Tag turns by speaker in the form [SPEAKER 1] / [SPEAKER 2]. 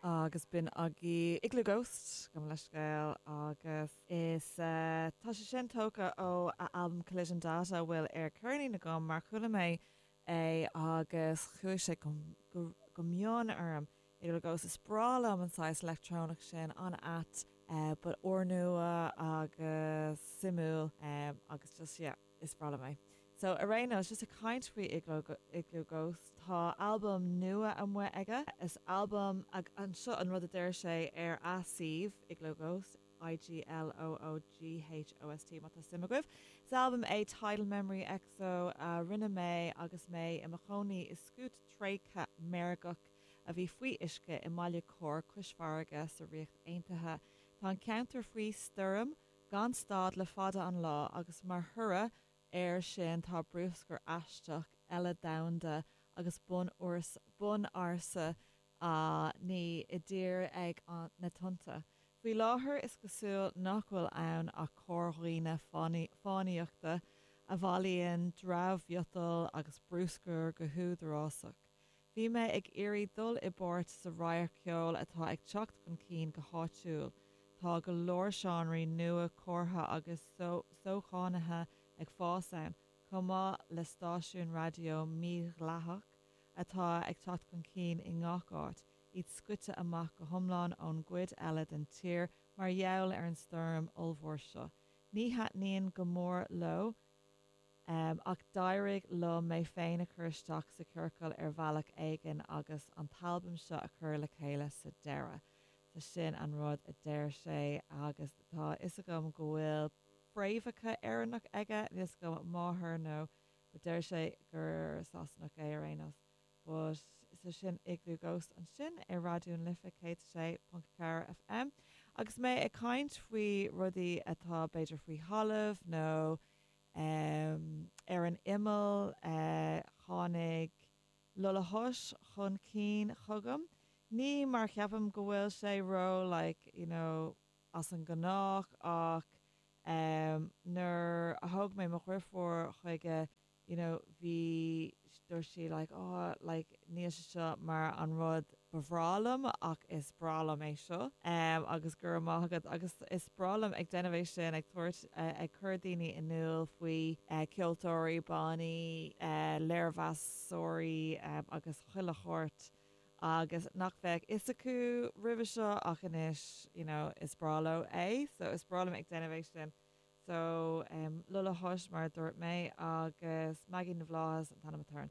[SPEAKER 1] Agus b'in agaibh Iglooghost, gabh mo leithscéal, agus is tá sé sin tógtha ó a albam Collision Data a bhfuil ar ceirnín agam mar chuala mé é agus chuaigh sé go mion orm. Iglooghost, is breá liom an saghas leictreonach sin, an-ait but úrnua agus suimiúil agus just yeah. Is breá liom é. So, ar aon nós, just ag caint faoi Iglooghost, tá albam nua amuigh aige. Is albam, anseo an rud a deir sé ar a suíomh, Iglooghost, I-G-L-O-O-G-H-O-S-T, má tá suim agaibh. Is albam é Tidal Memory XO a rinne mé agus mé i mo chónaí i scút tréigthe meirgeach a bhí faoi uisce i mbaile Corr cois farraige sa Ríocht Aontaithe. Tá an ceantar faoi stoirm gan stad le fada an lá agus mar thoradh air sin tá bruscar aisteach eile domhanda agus bun-ársa á ní i dtír ag na tonnta. Faoi láthair is cosúil nach bhfuil ann ach corrdhaoine fánaíochta a bhailíonn dramh-mhiotal agus bruscar go húdarásach. Bhí mé ag iarraidh dul i bpáirt sa radharc ceoil atá ag teacht chun cinn go háitiúil. Tá go leor seánraí nua cumtha agus sóchánaithe ag fás ann, chomh maith le stáisiún raidió mídhleathach atá ag teacht chun cinn i ngach áit, iad scoite amach go hiomlán ón gcuid eile den tír mar gheall ar an stoirm ollmhór seo. Ní thaitníonn go mór leo Ach d'éirigh liom mé féin a chur isteach sa chiorcal ar bhealach éigin agus an t-albam seo a chur le chéile sa deireadh. So sin an rud a deir sé agus tá a fhios agam go bhfuil fréamhacha Éireannach aige, níl 'fhios agam máthair nó but deir sé gur Sasanach é ar aon nós. But so sin Iglooghost ansin ar Raidió na Life 106.4 FM. Agus mé ag caint faoi rudaí atá b'fhéidir faoi thalamh nó ar an imeall, tháinig Lola Hush chun cinn chugam. Ní mar cheapaim go bhfuil sé ró like you know as an ngnách ach nuair a thóg mé mo dhriofúr chuige you know bhí, dúirt sí like oh like níl sé seo mar an rud ba bhreá liom ach is breá liom é seo agus go raibh maith agat agus is breá liom ag déanamh é sin ag tabhairt ag cur daoine in iúl faoi ceoltóirí, bannaí, léirmheasóirí agus chuile shórt agus nach bheadh fhios acu roimhe seo ach anois you know is breá leo é so is breá liom ag déanamh é sin. So, Lola Hush mar a dúirt mé agus Maggie na bhFlaitheas an t-ainm atá ar an.